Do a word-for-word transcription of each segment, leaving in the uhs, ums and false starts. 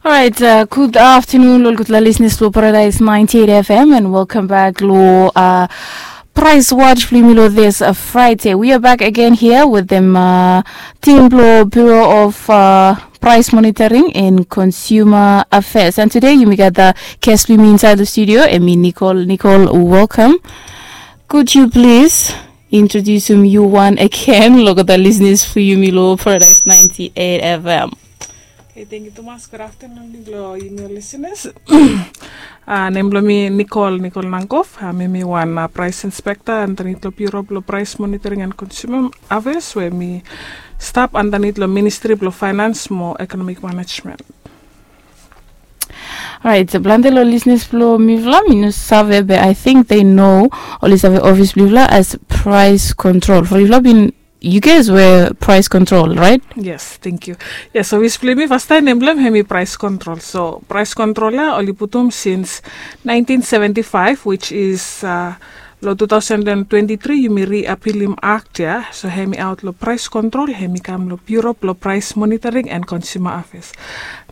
Alright, uh, good afternoon, lo ol gutpela listeners lo Paradise ninety-eight F M, and welcome back lo uh, Price Watch blo yumi lo this uh, Friday. We are back again here with the uh, team blo Bureau of uh, Price Monitoring and Consumer Affairs. And today, yumi gat the guest blo yumi inside the studio, hemi Nicole. Nicole, welcome. Could you please introduce yu wan again lo gat the listeners blo yumi lo Paradise ninety-eight F M? Okay, thank you, Thomas. Good afternoon, lo yumi listeners. Uh, nem blo mi Nicole, Nicole Nangkov. Uh, mi mi wan uh, price inspector andanit lo Bureau blo Price Monitoring and Consumer Affairs, we mi stap andanit lo Ministry blo Finance mo Economic Management. Alright, so plante lo listeners blo mifala mi no save, but I think they know, oli save office blo mifala as price control. For mifala bin, you guys were price control, right? Yes, thank you. Yes, so office blo mi fastaem nem blo hem hemi price control. So price control ya oli putum since nineteen seventy-five, which is uh, lo two thousand and twenty-three yumi repealim act ya. So hemi aot lo price control, hemi kam lo Bureau blo Price Monitoring and Consumer Affairs.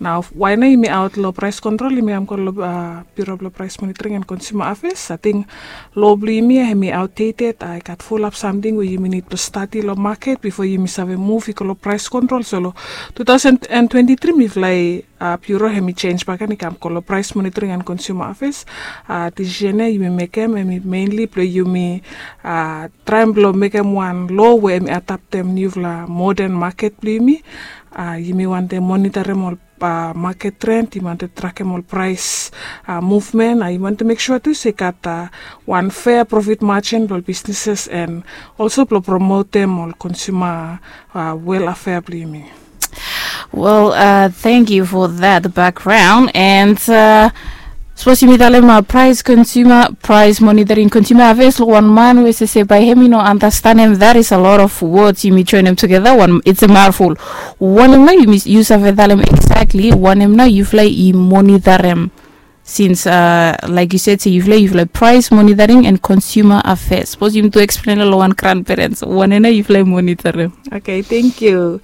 Nao why nao yumi aot lo price control, yumi kam go lo uh, Bureau blo Price Monitoring and Consumer Affairs? Ating lo blo yumi ya hemi outdated. I gat fulap samting we yumi nid blo stadi lo market bifo yumi save move i go lo price control. So lo two thousand and twenty-three mifala i uh, Bureau hemi change bak gen i kam go lo Price Monitoring and Consumer Affairs. Uh, decision ya yumi mekem hemi mainly blo yumi uh, traem blo mekem wan law we hemi adaptem niufala modern market blo yumi. Uh, yumi wantem monitorem ol uh, market trend, yumi wantem trakem ol price uh, movement. Uh, yumi wantem mek sua tu se i gat uh, wan fair profit margin blo ol businesses and also blo promotem ol consumer uh, welfare blo yumi. Well, uh, thank you for that background. And uh, sapos yumi talem uh, price consumer, price monitoring, consumer affairs, lo wan man we sese bae hemi no understand him, that is a lot of words yumi join them together. One, it's a mouthful. Wanem nao yumi, yu save talem exactly wanem nao yufala i monitorem? Since uh, like you said, se yufala, yufala price monitoring and consumer affairs. Sapos yumi tu explain lo wan grandparents wanem nao yufala i monitorem? Okay, thank you.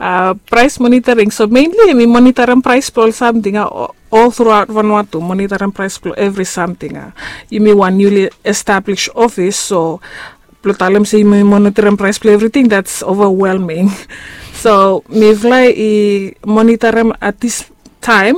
Uh, price monitoring. So mainly yumi monitorem price blo ol samting uh, all throughout Vanuatu, monitorem price blo every samting uh. Yumi wan newly established office, so blo talem se yumi monitorem price blo everything, that's overwhelming. So mifala i monitorem at this time,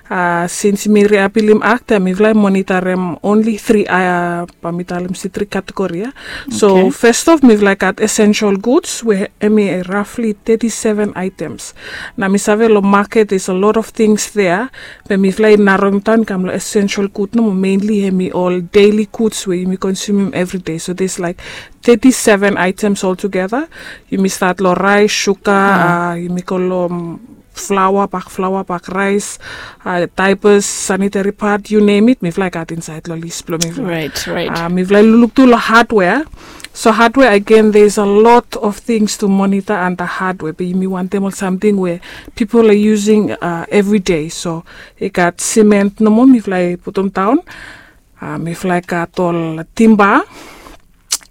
uh, since mi repealim act ya, mifala i monitorem only three uh, bae mi talem se three category ya. So okay, first off mifala i gat essential goods we hemi roughly thirty-seven items. Nao mi save lo market there's a lot of things there, be mifala i narrowem down kam lo essential good nomo, mainly hemi ol daily goods we yumi consumem everyday. So there's like thirty-seven items altogether. Yumi stat lo rice, sugar, uh, yumi go lo um, flour, bak flour, bak rice, uh, diapers, sanitary pad, you name it, mifala i gat insaed lo list blo mifala. Right, right. Uh, mifala i lukluk tu lo hardware. So hardware again, there's a lot of things to monitor under hardware, be yumi wantem ol samting we people are using uh, every day. So i gat cement nomo mifala i putum daon. Uh, mifala i gat ol timba.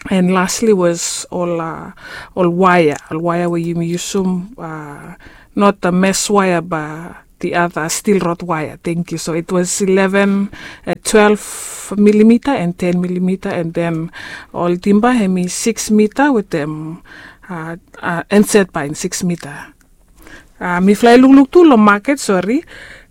And lastly was ol uh, ol wire, ol wire we yumi yusum, uh, not the mesh wire but the other steel rod wire. Thank you. So it was eleven, uh, twelve millimeter and ten millimeter, and then ol timba hemi six meter wetem uh, uh, inset by six meter. Uh, mifala i lukluk tu lo market, sorry.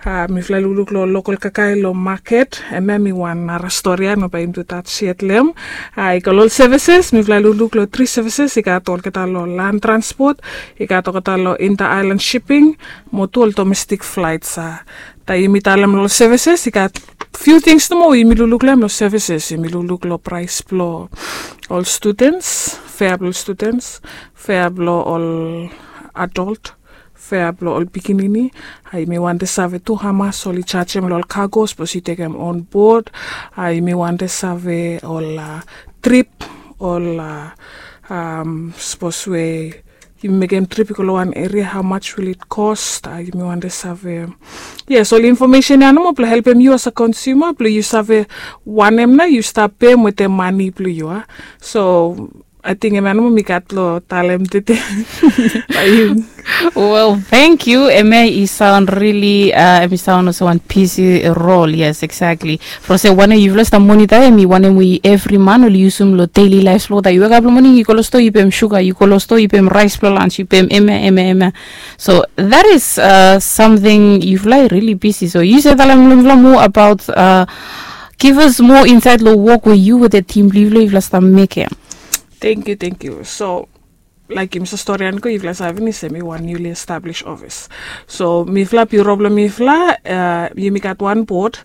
Uh, mifala i lukluk lo local kakae lo market, hemia hemi wan nara stori ya, no bae yumi tu touch yet lo hem. Uh, i go lo ol services, mifala i lukluk lo three services, i gat olgeta lo land transport, i gat olgeta lo inter-island shipping, mo tu ol domestic flights. Uh, taem yumi talem lo ol services, i gat few things nomo we yumi lukluk lo hem lo services. Yumi lukluk lo price blo ol students, fare blo ol students, fare blo ol adult, fare blo ol pikinini. Uh, yumi wantem save tu hamas oli jajem lo ol cargo sapos yu tekem on board. Uh, yumi wantem save ol uh, trip, ol uh, um, sapos we yumi mekem trip i go lo wan area, how much will it cost? Uh, yumi wantem save, yes, ol information ya nomo blo helpem yu as a consumer blo yu save wanem nao yu stap pem wetem mane blo yu. Uh. So Ating em ya nomo mi gat lo talem tete. Well, thank you. Eme i sound really uh, eme i sound also one busy role. Yes, exactly. From se one yufala sta monitor eme one eme every man oli usum lo daily life lo ta. You wake up lo morning, you go lo store, you pay him sugar, you go lo store, you pay him rice lo lunch, you pay him eme eme eme. So that is uh, something yufala really busy. So you say talem lo more about uh, give us more insight lo work where you with the team lo yufala sta make. Thank you, thank you. So like yumi sa stori anko yufala sa finis em i wan newly established office. So mifala biro bilong mifala uh, yumi gat wan board,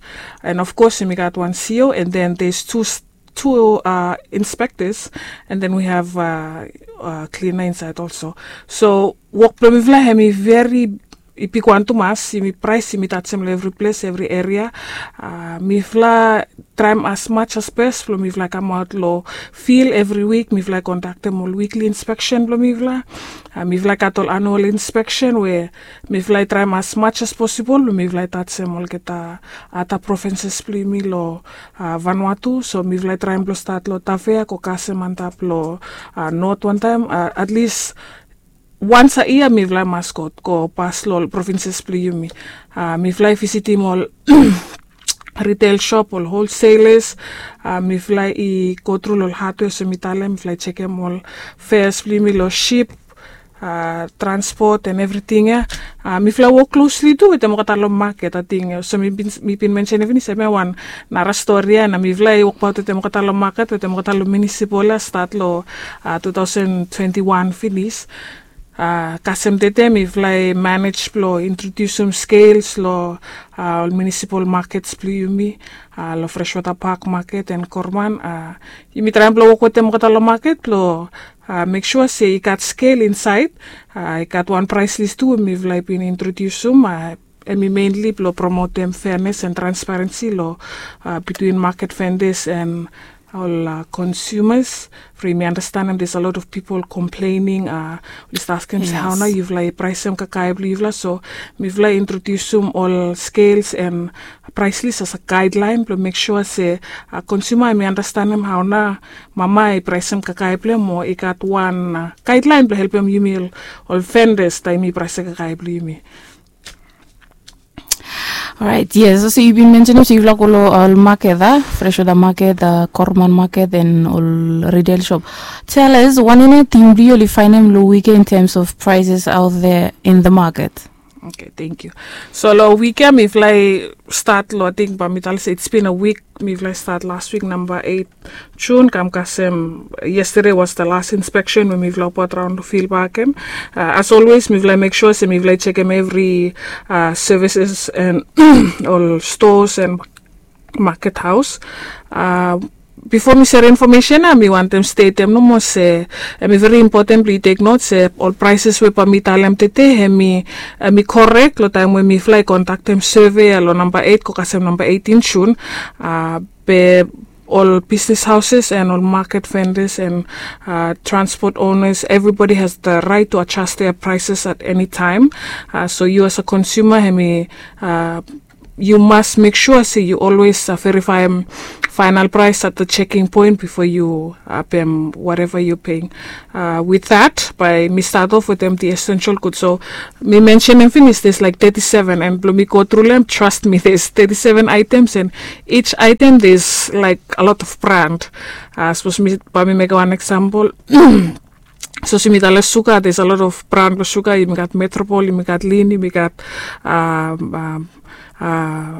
and of course yumi gat wan C E O, and then there's two two uh, inspectors, and then we have uh, uh, cleaner inside also. So work bilong mifala em i very i bigwan tumas, yumi prais yumi tasim long evri ples evri eria. Uh, mifala traim as much as best bilong mifala kamaut long fil evri wik, mifala i kondaktim ol wikli inspeksen bilong mifala. Uh, mifala i gat ol anual inspeksen we mifala i traim as much as posibol bilong mifala i tasim olgeta ata provinses bilong yumi long uh, Vanuatu. So mifala i traim bilong stat long Tafea go kasem antap long uh, not wantaim uh, at least once a year mifala i mas go go pas long ol provinces bilong yumi. Uh, mifala i visitim ol retail shop, ol wholesalers. Uh, mifala i go tru long ol hardware so mi talem mifala i chekem ol fares bilong yumi long ship, uh, transport and everything ya. Uh, mifala wok closely tu wetem olgeta long market ating so mi bin, mi bin mention finis em ya wan nara stori ya na mifala i wokbaut wetem olgeta long market wetem olgeta long municipal ya stat long uh, two thousand twenty-one finis. Uh, kasem tete mifala i manage bilong introdusim scales long uh, ol municipal markets bilong yumi, uh, long Freshwater Park market and Korman. Uh, yumi traim bilong wok wetem olgeta long market bilong uh, make sure se i gat scale inside. Uh, i gat wan price list tu mifala i bin introdusim uh, em i mainly bilong promotem fairness and transparency long uh, between market vendors and ol uh, consumers. From yumi understandim there's a lot of people complaining uh, oli start askim se hau nau yufala i praisim kakae bilong yufala. So mifala i introdusim ol scales and price list as a guideline bilong make sure se uh, consumer em i understandim hau nau mama i praisim kakae bilong em o i gat wan uh, guideline bilong helpim yumi ol vendors taim i praisim kakae bilong yumi. Alright, yes. So you been mentioning so you go all market, uh, fresh water market, uh, Korman market, and all retail shop. Tell us, one in a team do you find them low weaker in terms of prices out there in the market? Okay, thank you. So lo weekend mi fly start lo, I think ba mi tal se it's been a week. Mi fly start last week number eight June kam kasem yesterday was the last inspection we mi fly pat raun lo fil bakem. Uh, as always mi fly make sure se mi fly chekem every uh, services and all stores and market house. Uh, bifo mi sere infomesen ya mi wantem stetem nomo se em i veri impoten blong yu tek not se ol prises we ba mi talem tete em i em i korek lo taim we mi fly kontaktem survey ya lo namba eight go kasem namba eighteen June. Uh, be ol business houses and ol market vendors and uh, transport owners, everybody has the right to adjust their prices at any time. Uh, so you as a consumer em i uh, you must make sure se you always uh, verify um, final price at the checking point before you uh, pay um, whatever you're paying. Uh, with that, by mi start off with them the essential goods. So mi mention and finish there's like thirty-seven and blo mi go through them. Trust me, there's thirty-seven items and each item there's like a lot of brand. Uh, suppose mi by mi make one example. So simi tale sugar, there's a lot of brand lo sugar. Yumi gat Metropol, yumi gat Lin, yumi gat um, um, uh,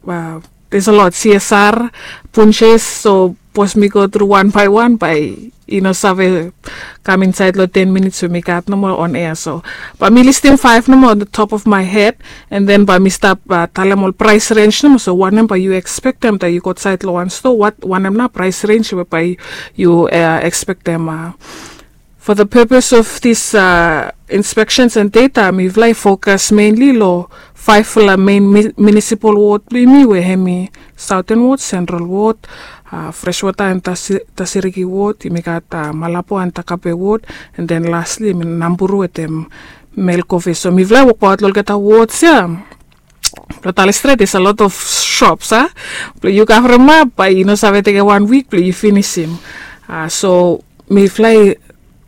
uh, there's a lot C S R, Punches. So pos mi go through one by one by you know save kam inside lo ten minutes we mi gat nomo on air. So ba mi listim five nomo on the top of my head, and then ba mi stap uh, talem ol price range nomo. So wanem ba you expectem that you go side lo one store, what wanem na price range we ba you uh, expectem uh, For the purpose of this uh, inspections and data, mi fly focus mainly lo five fala main municipal ward blo yumi we hemi Southern Ward, Central Ward, uh, Freshwater and Tasiriki Ward, yumi gat uh, Malabo and Takape Ward, and then lastly yumi Namburu with them Melkove. So mi fly work out lo olgeta wards ya. Lo tali stret is a lot of shops, ah. Blo yu cover em up, ba yu no save teke one week blo yu finisim. Uh, so mifala i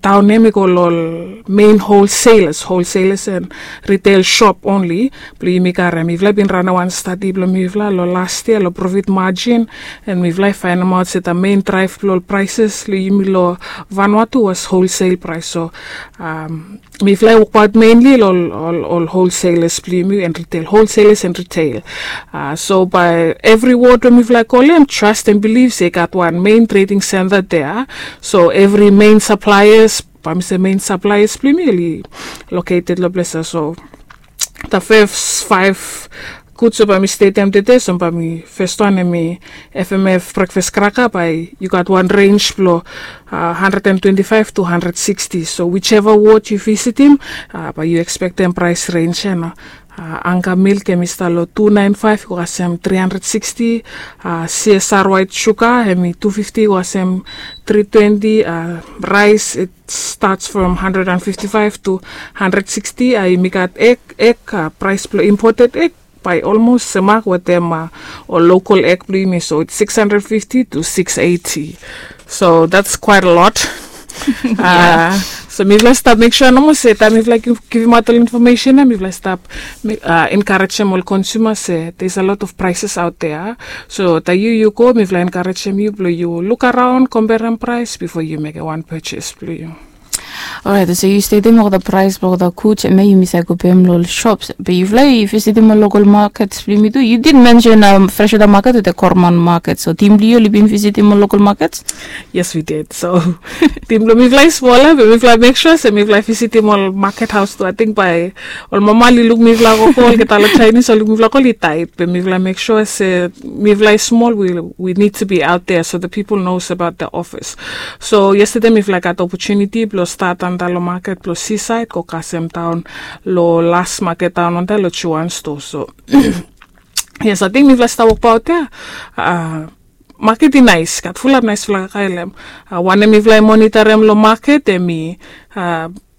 daon ia mi go long ol mein holselas holselas en ritel shop onli. Blong yumi karim mifala i bin ranem wan stadi blong mifala long las yia long profit majin, en mifala i fainemaot se da mein draef blong ol praeses long yumi long vanua tu was holsel praes. So mifala i wokbaot menli long ol holselas blong yumi en ritel holselas en ritel. So bae evri wod we mifala i kolem trast en biliv se i gat wan mein treding senta dea. So evri mein saplaeas, bae mi se mein saplaeas blong yumi oli loketed long ples ya. So da fes faef guds we bae mi stetem tede, so bae mi fes wan em i fmf brekfas kraka, bae yu gat wan renj blong hundred and twenty five to hundred sixty. So wiseva wod yu visitim, bae yu ekspektem praes renj ya. Anga milk em i stap long two nine five i go kasem three hundred sixty. Csr waet suga em i two fifty i go kasem three twenty. Raes it starts from hundred and fifty five to hundred sixty. Yumi gat ek ek praes blong imported ek bae olmos semak wetem ol lokol ek blong yumi, so it's six hundred fifty to six eighty. So that's quite a lot. So mifala stap mek sua nomo se taem mifala givimaot ol infomesen ya mifala stap enkarejem ol konsuma se there's a lot of prices out there. So taem yu yu go mifala enkarejem yu blong yu luk araon komperem praes bifo yu mekem wan pejes blong yu. Orait, so yu stetem olgeta praes blong olgeta guds em ya yumi save go pem long ol shops, be yufala i visitim ol lokol makets blong yumi tu. Yu did mensen freshwater maket wetem korman maket, so tim blong yu oli bin visitim ol lokol makets? Yes, we did. So tim blong mifala i smol ya, be mifala mek sua se mifala i visitim ol maket haos tu. Ating bae ol mama oli luk mifala koko, olgeta ol Chinese oli luk mifala koko oli taet, be mifala mek sua se mifala i smol, we need to be out there so the people knows about the office. So yestede mifala i gat opotuniti blong stat antap long maket blong Seaside go kasem daon long las maket daon antap long Juan stoa. So yes, ating mifala stap wokbaot ya. Maket i naes, gat fulap naesfala kakae long hem. Wanem mifala i monitarem long maket em i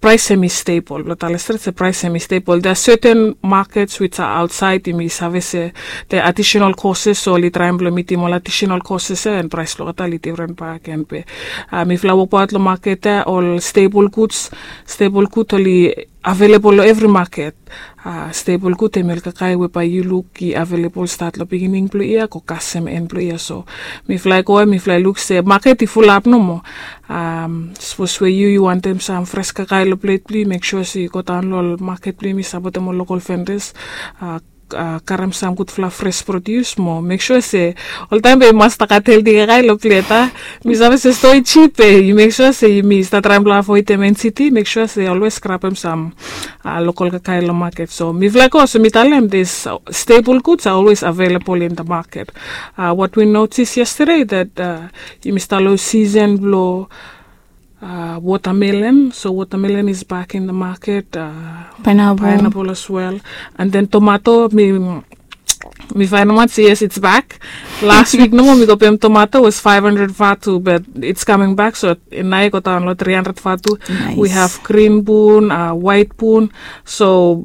praes em i stebol. Blong tale stret se praes em i stebol. There are certain markets which are outside, yumi save se the additional costs, so oli traem blong mitim ol additional costs ya, en praes blong olgeta oli difren bakegen. Be mifala wokbaot long maket ya, ol stebol guds, stebol gud oli avelebol long evri maket. Stebol gud em i ol kakae we bae yu luk i avelebol stat long beginning blong yia go kasem en blong yia. So mifala i go ya mifala i luk se maket i fulap nomo. Sapos we yu yu wantem sam fres kakae long plet blong yu, mek sua se yu godaon long ol maket blong yumi, sapotem ol lokol vendas, karem sam gudfala fres prodius mo mek sua se oltaem be yu mas stap gat helti kakae long plet. Mi save se stoa i jip, be yu mek sua se yumi stap traem blong avoedem N C D, mek sua se olwes grabem sam lokol kakae long maket. So mifala i go, so mi talem this, stebol guds are always avelebol in the maket. Wat wi notis yestede that yumi stap long sisen blong watermelon. So watermelon is back in the market. Pineapple as well. And then tomato, mi mi fainemaot se yes, it's back. Las wik nomo mi go pem tomato was five hundred vatu, but it's coming back. So nao i go daon long three hundred vatu. We have grin bun, waet bun. So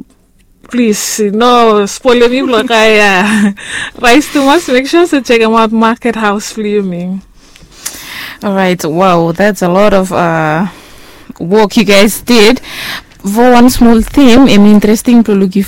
plis no spolem mi blong kae raes tumas. Mek sua se jekemaot maket haos blong yumi. Orait, wow, that's a lot of uh, work you guys did. Fo wan smol tim em interesting blong lukim